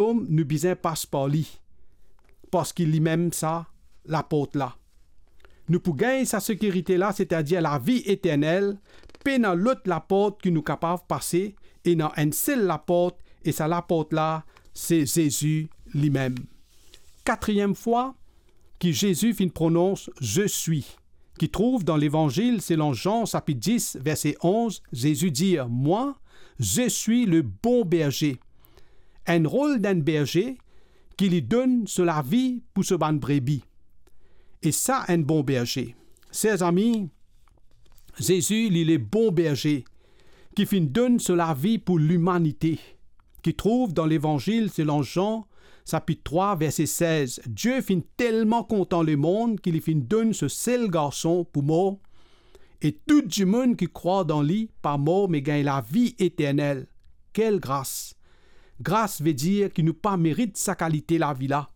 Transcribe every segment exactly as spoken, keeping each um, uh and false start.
Royom, nou bizin pas par li, parski limem sa laport la. Nou pou gagn sa sekirite la, setadir lavi eternel, pena lot laport ki nou kapav pase, ena enn sel laport, e sa laport la, se Zezi limem. Katriem fwa ki Zezi finn pronons "Je suis", ki trouv dan Levanzil selon Zan, sapit dis, verse onz, Zezi dir, "Moi, je suis le bon berger." Enn rol d'enn berze ki li donn so lavi pou so bann brebi. E sa enn bon berze. Ser zami, Zezi, li le bon berze ki finn donn so lavi pou limanite, ki trouv dan Levanzil selon Zan, sapit trwa, verse sez, "Dieu finn telman kontan lemond ki li finn donn so sel garson pou mor, e tou dimoun ki krwar dan li pa mor, me gagn lavi eternel." Kel gras! Gras ve dir ki nou pa merit sa kalite lavi la,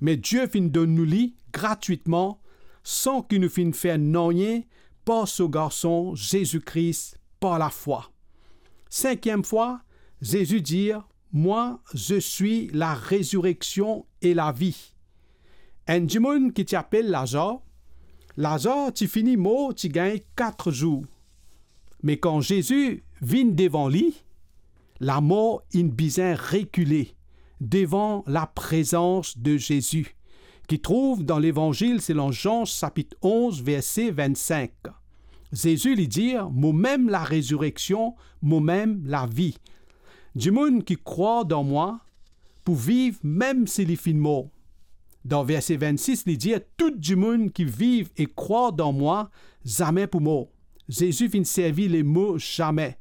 me Dieu finn donn nou li gratwitman, san ki nou finn fer nanye, par so Garson Zezi Kris par lafwa. Sinkiem fwa, Zezi dir, "Moi, je suis la résurrection et la vie." Enn dimoun ki ti apel Lazar, Lazar ti fini mor, ti gagn kat zour. Me kan Zezi vinn devan li, lamor inn bizin rekile devan laprezans de Zezi, ki trouv dan Levanzil selon Zan, sapit onz, verse vinn-sink. Zezi li dir, "Momem larezireksion, momem lavi. Dimoun ki krwar dan mwa pou viv mem si li finn mor." Dan verse vinn-sis, li dir, "Tou dimoun ki viv e krwar dan mwa, zame pou mor." Zezi finn servi lemo zame.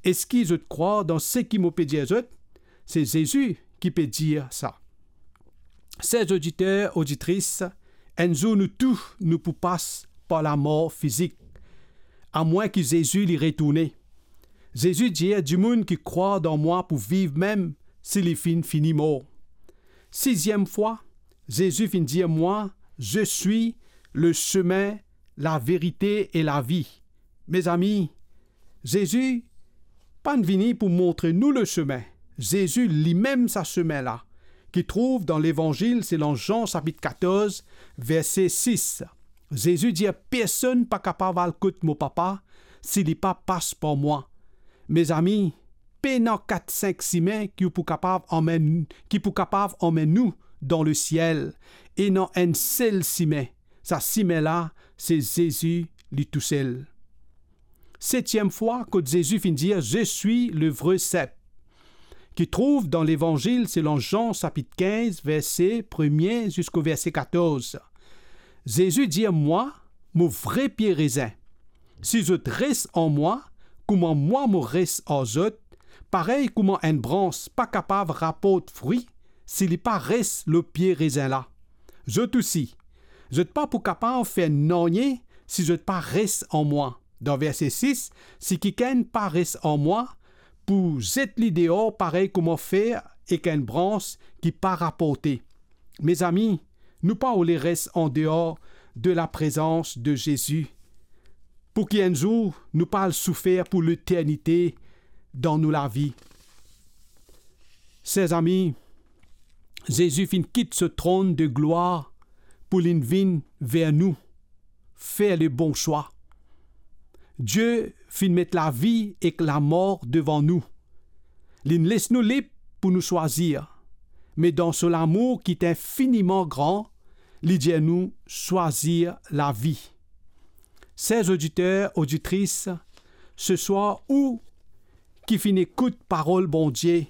Eski zot krwar dan seki mo pe dir zot? Se Zezi ki pe dir sa. Ser oditer, oditris, enn zour nou tou nou pou pas par lamor fizik, amwin ki Zezi li retourne. Zezi dir, "Dimoun ki krwar dan mwa pou viv mem si li finn fini mor." Siziem fwa, Zezi finn dir, "Moi, je suis le chemin, la vérité et la vie." Mezami, Zezi pa'nn vini pou montre nou leseme. Zezi limem sa seme la, ki trouv dan Levanzil selon Zan, sapit katorz, verse sis. Zezi dir, "Personn pa kapav al kot mo Papa si li pa pas par mwa." Mezami, pena kat-sink sime ki pou kapav anmenn, ki pou kapav anmenn nou dan lesiel. Ena enn sel sime. Sa sime la, se Zezi li tousel. Setiem fwa kot Zezi finn dir, "Je suis le vrai cep," ki trouv dan Levanzil selon Zan, sapit kinz, verse premie ziska verse katorz. Zezi dir, "Mwa, mo vre pie rezin. Si zot res an mwa, kouma mwa mo res ar zot, parey kouma enn brans pa kapav raport fri si li pa res lor pie rezin la, zot osi, zot pa pou kapav fer nanye si zot pa res an mwa." Dan verse sis, "Si kikenn pa res an mwa, pou zet li deor parey kouma fer ek enn brans ki pa raporte." Mezami, nou pa oule res andeor de laprezans de Zezi, pou ki enn zour nou pa al soufer pou leternite dan nou lavi. Ser zami, Zezi finn kit so tronn de glwar pou linn vinn ver nou, fer le bon swa. Die finn met lavi ek lamor devan nou. Linn les nou lib pou nou swazir, me dan so lamour ki ti infiniman gran, li dir nou swazir lavi. Ser oditer, oditris, seswar ou ki finn ekout parol Bondie,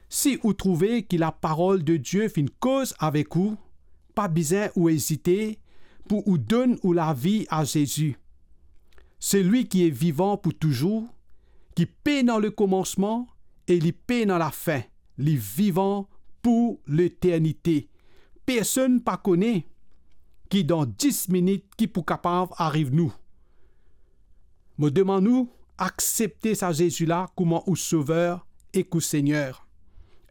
si ou trouve ki laparol de Die finn koz avek ou, pa bizin ou ezite pou ou donn ou lavi a Zezi. Selwi ki e vivan pou touzour, ki pena lekomansman e li pena lafin, li vivan pou leternite. Personn pa kone ki dan dis minit ki pou kapav ariv nou. Mo demann ou, aksepte sa Zezi la kouma ou Sover ek ou Segner.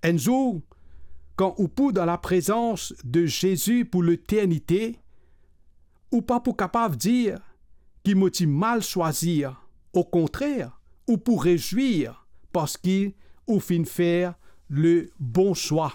Enn zour, kan ou pou dan laprezans de Zezi pou leternite, ou pa pou kapav dir ki mo ti mal swazir. Okontrer, ou pou rezwir parski ou finn fer le bon swa.